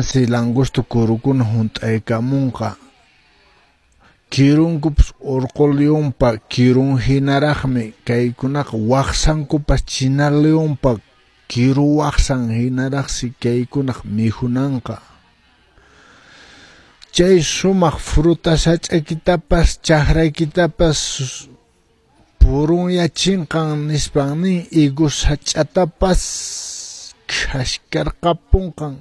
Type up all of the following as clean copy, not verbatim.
Llapansi langosta kurukuna hunt'aykamunqa. Kirunkupas urqu leonpa kirun hinaraqmi, kaykunaqa waqsankupas china leonpa kiru waqsan hinaraqsi kaykunaq mikhunanqa. Chay sumaq fruta sach'aykitapas chakraykitapas purunyachinqan nispan nin, higos sach'atapas khashkarqapunqan,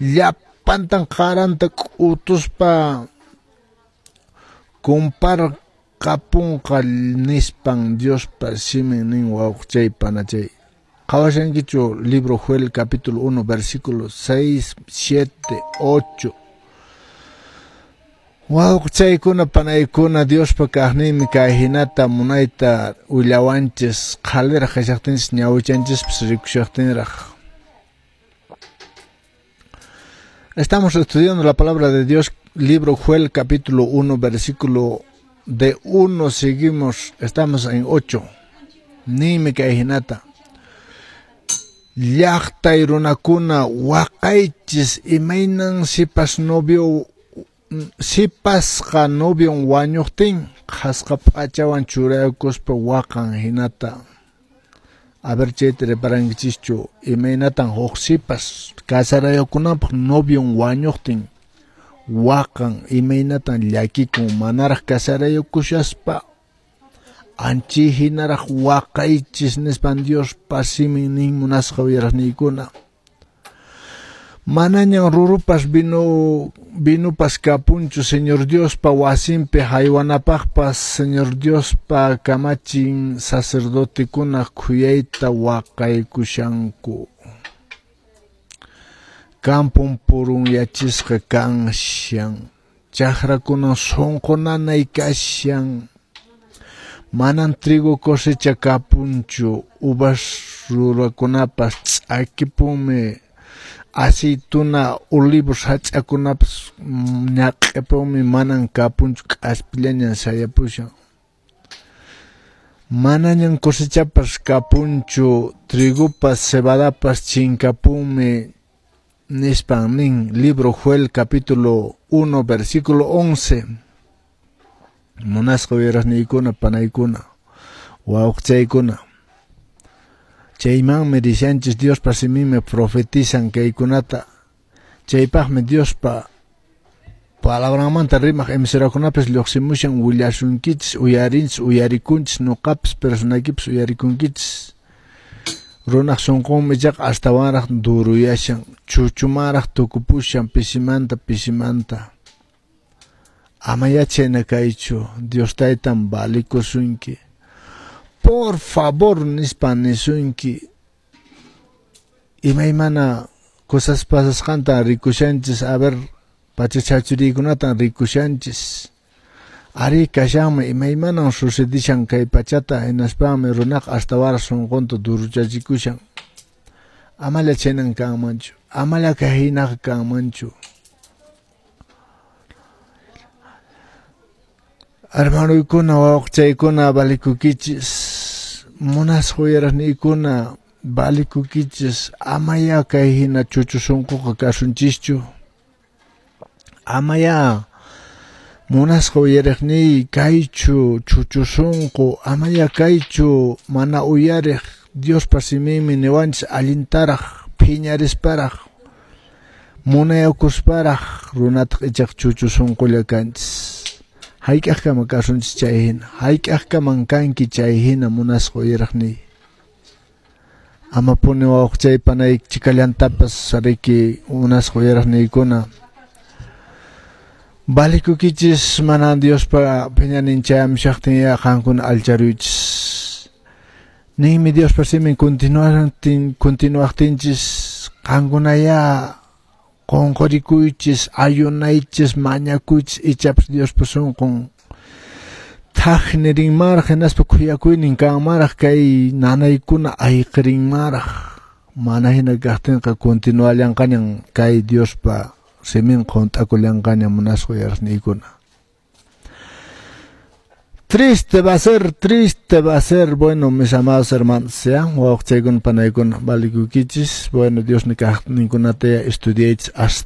llapantan qaranta k'utuspa kumparqapunqa nispan Diospa simin nin, wawqichay panachay. Qhawashankichu libro Joel capítulo 1 versículo 6, 7, 8. Wawqichaykuna panaykuna Diospa kaqninmi kay hinata munayta willawanchis, qhaliraq kashaqtinchis ñawichanchispas rikushaqtinraq. Estamos estudiando la palabra de Dios, libro Joel capítulo 1 versículo de 1 seguimos, estamos en 8. Ninmi kay hinata. Llaqtay runakuna waqaychis, imaynan sipas novio sipasqa novion wañuqtin qhasqa p'achawan churaykuspa waqan hinata. A ver, chayta reparankichischu, imaynatan huk sipas casarayukunanpaq novion wañuqtin waqan, imaynatan llakikun manaraq casarayukushaspa, anchi hinaraq waqaychis nispan Diospa simin nin, munasqa uyaraqniykuna. Manañan rurupas vinupas kapunchu Señor Diospa wasinpi haywanapaqpas, Señor Diospa kamachin sacerdotekuna khuyayta waqaykushanku. Kampun purunyachisqa kanshan, chakrakunan sunqu nanay kashan, manan trigo cosecha kapunchu, uvas rurakunapas ch'akipunmi, aceituna, olivos sach'akunapas ñaq'ipunmi, manan kapunchu, k'aspillañan sayapushan. Manañan cosechapas kapunchu, trigopas, cebadapas chinkapunmi nispan nin, libro Joel capítulo 1 versículo 11. Munasqa uyaraqniykuna panaykuna wawqichaykuna, chaymanmi rishanchis, Diospa siminmi profetizan kaykunata, chaypaqmi Diospa palabranmanta rimaq emiserakunapas lluqsimushan, willasunkichis, uyarinchis, uyarikunchis, nuqapas personaykipas uyarikunkichis. Runaq sunqunmi ichaqa astawanraq duruyashan, chuchumanraq tukupushan, pisimanta pisimanta. Ama chayna kaychu, Dios taytan valikusunki. Por favor nispan nisunki. Imaymana cosas pasasqantan rikushanchis, a ver, pachachachuriykunatan rikushanchis. Ari kashanmi imaymanan sucedishan kay pachata, hinaspanmi runaqa astawanraq sunqunta duruchachikushan. Amalla chaynan kanmanchu, amalla kay hinaqa kanmanchu. Hermanoykuna, wawqichaykuna, valikukichis, munasqa uyaraqniykuna, valikukichis, amaya kay hina chuchu sunquqa kasunchischu. Amaya munasqa uyariqniy kaychu chuchu sunqu, amaya kaychu mana uyariq. Diospa siminmi niwanchis allintaraq phiñarisparaq munayakusparaq runataq ichaq chuchu sunqulla kanchis. Hayk'aqkama kasunchis chay hina, hayk'aqkaman kanki chay hina munasqa uyaraqniy. Amapuni wawqichay panay chikallantapas riki munasqa uyaraqniykuna. Valikukichis, mana Diospa phiñanin chayamushaqtin ya qankuna allcharuychis. Ninmi Diospa simin continuaqtinchis qankunaya qonqorikuychis, ayunaychis, mañakuychis, ichapas Diospa sunqun thaj nirinmaraq, hinaspa khuyakuynin kanmaraq, kay nanaykuna ayqirinmaraq. Mana hina kaqtinqa continuallanqañan kay Diospa simin hunt'akullanqaña munasqa uyaraqniykuna. Triste va a ser, triste va a ser, bueno, mis amados hermanos, ¿ya? Wawqichaykuna panaykuna valikukichis, bueno, Dios ni kaqninkunata estudiaychis hasta